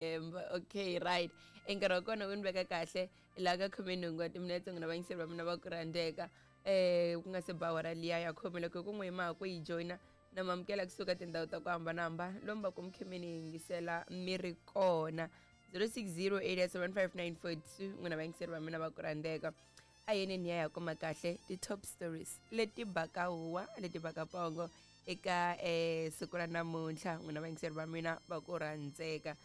Okay, right. E nkarhi wa kona wu ni veka kahle laha ka 18 wa timinetse, n'wina vayingiseri va mina va ku rhandzeka, ku nga se ba awara liya ya khume. Loko ku n'wi ma ha ku yi joyina, na mamukela kusuka tindhawu ta ku hambanahambana lomu va ku mi khe mi ni yingisela mi ri kona. 0608755942, n'wina vayingiseri va mina va ku rhandzeka, a yeneni ya ya kuma kahle ti-top stories leti baka huwa, leti baka pongo eka siku ra namuntlha. N'wina vayingiseri va mina va ku rhandzeka,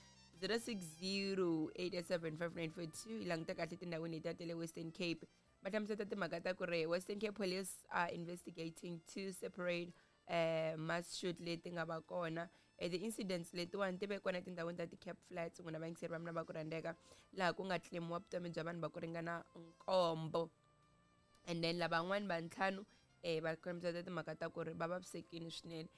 0608755942. Yi languta kahle tindhawini letiya ta le Western Cape. Va hlamuseta timhaka ta ku ri Western Cape Police are investigating two separate mass shoot leti nga va kona. The incidents letiwani ti ve kona etindhawini ta ti-Cape Flats, n'wina vayingiseri va mina va ku rhandzeka, laha ku nga claimiwa vutomi bya vanhu va ku ringana nkombo, and then lavan'wani va ntlhanu va hlamuseta timhaka ta ku ri va vavisekile swinene.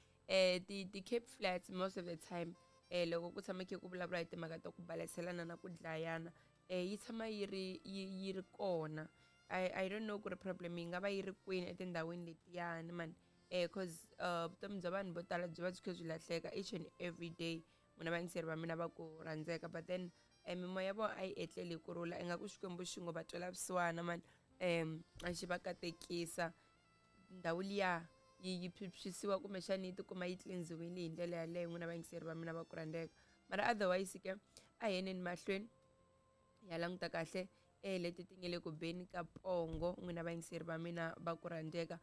Ti Cape Flats, most of the time, loko ku tshama khe ku vulavula hi timhaka ta ku baleselana na ku dlayana, yi tshama yi ri yi ri kona. I don't know ku ri problem yi nga va yi ri kwini etindhawini letiyani man, 'cause vutomi bya vanhu vo tala byi va byi kha byi lahleka each and every day, n'wina vayingiseri va mina va ku rhandzeka. But then mimoya ya vona a yi etleli hi kurhula. Ingaku Xikwembu xi ngo va twela vusiwana man, a xi va katekisa, ndhawu liya yi phyuphyisiwa, kumbexani yi tikuma yi cleansiwile hi ndlela yaleyo, n'wina vayingiseri va mina va ku rhandzeka. Mara otherwise ke, a hi yeneni mahlweni ya languta kahle leti ti nge le ku beni ka pongo, n'wina vayingiseri va mina va ku rhandzeka.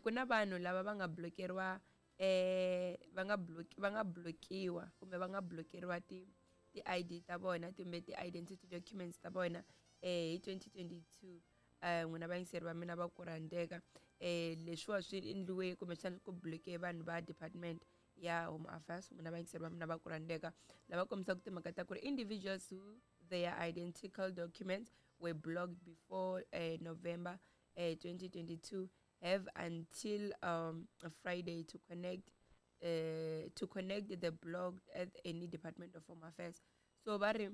Ku na vanhu lava va nga blokeriwa, va nga blokiwa kumbe va nga blokeriwa ti ID ta vona kumbe ti identity documents ta vona hi 2022, n'wina vayingiseri va mina va ku rhandzeka. Leswiwa swi endliwe kumbexana ku bloke vanhu va department ya Home Affairs, n'wina vayingiseri va mina va ku rhandzeka, lava kombisaka timhaka ta ku ri individuals who their identical documents were blocked before November 2022 have until Friday to connect the blocked at any department of Home Affairs. So va ri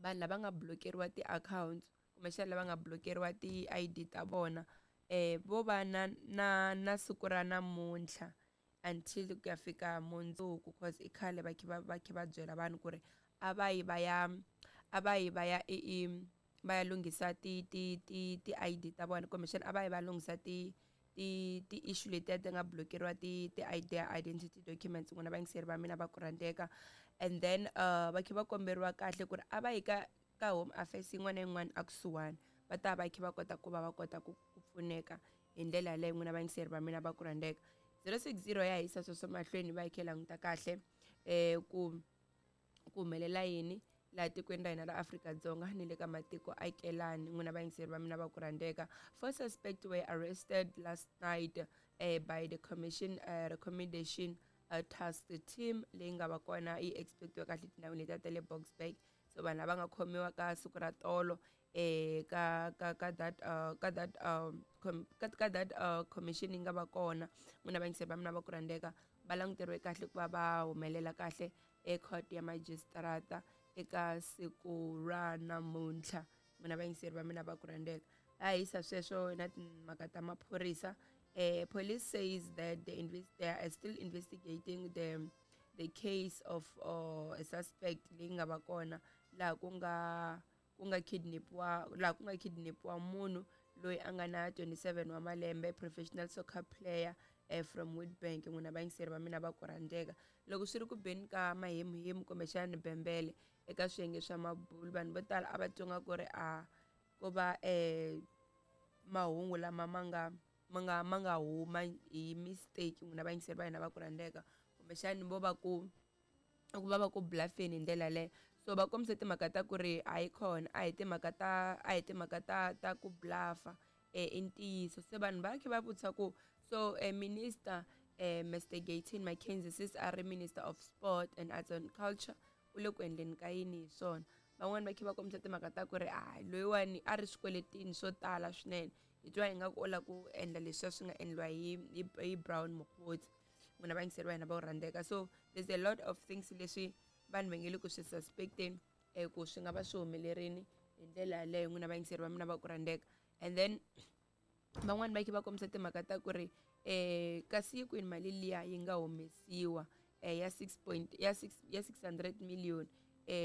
vanhu lava nga blokeriwa ti-accounts, kumbexana lava nga blokeriwa ti-ID ta vona, vo va na siku ra namuntlha until ku ya fika mundzuku, 'cause i khale va khe va byela vanhu ku ri a va yi va ya i va ya lunghisa ti ID ta vona, kumbexana a va yi va lunghisa ti issue letiya ti nga blokeriwa ti ID, identity documents, n'wina vayingiseri va mina va ku rhandzeka. And then va khe va komberiwa kahle ku ri a va yi ka Home Affairs yin'wana na yin'wana a kusuhani, va ta va khe va kota ku va va kota ku pfuneka hi ndlela yaleyo, n'wina vayingiseri va mina va ku rhandzeka. 060 ya hisa sweswo mahlweni, va yi khe languta kahle ku humelela yini laha tikweni ra hina ra Afrika-Dzonga ni le ka matiko akelani, n'wina vayingiseri va mina va ku rhandzeka. Four suspects were arrested last night by the commission recommendation task team leyi nga va kona yi expectiwa kahle tindhawini letiya ta le Boksburg. So vanhu lava nga khomiwa ka siku ra tolo ka that commission yi nga va kona, n'wina vayingiseri va mina va ku rhandzeka, va languteriwe kahle ku va va humelela kahle ecourt ya magistrata eka siku ra namuntlha, n'wina vayingiseri va mina va ku rhandzeka. A hisa sweswo na timhaka ta maphorisa. Police says that they are still investigating the case of a suspect leyi nga va kona laha ku nga kidnapiwa, laha ku nga kidnapiwa munhu loyi a nga na 27 wa malembe, professional soccer player from Witbank, n'wina vayingiseri va mina va ku rhandzeka. Loko swi ri ku beni ka mahemuhemu kumbexana bembele eka swiyenge swa mabulu, vanhu vo tala a va twanga ku ri a ko va mahungu lama ma nga huma hi mistake, n'wina vayingiseri va hina va ku rhandzeka, kumbexani vo va ku bluffeni hi ndlela yaleyo. So va kombise timhaka ta ku ri hayi khona, a hi timhaka ta ku bluffa, i ntiyiso. Se vanhu va khe va vutisa ku so minister, Mr Gayton McKenzie, sis a ri Minister of Sport and Arts and Culture, u le ku endleni ka yini hi swona? Van'wani va khe va kombisa timhaka ta ku ri a loyiwani a ri swikweletini swo tala swinene, hi twa ingaku u lava ku endla leswiya swi nga endliwa hi Brown Mogotsi, n'wina vayingiseri va hina va ku rhandzeka. So there's a lot of things leswi vanhu va nge le ku swi suspecteni ku swi nga va swi humelerini hi ndlela yaleyo, n'wina vayingiseri va mina va ku rhandzeka. And then van'wani va khe va kombisa timhaka ta ku ri kasi yi kwini mali liya yi nga humesiwa ya 6 point ya 6 ya 600 million? E.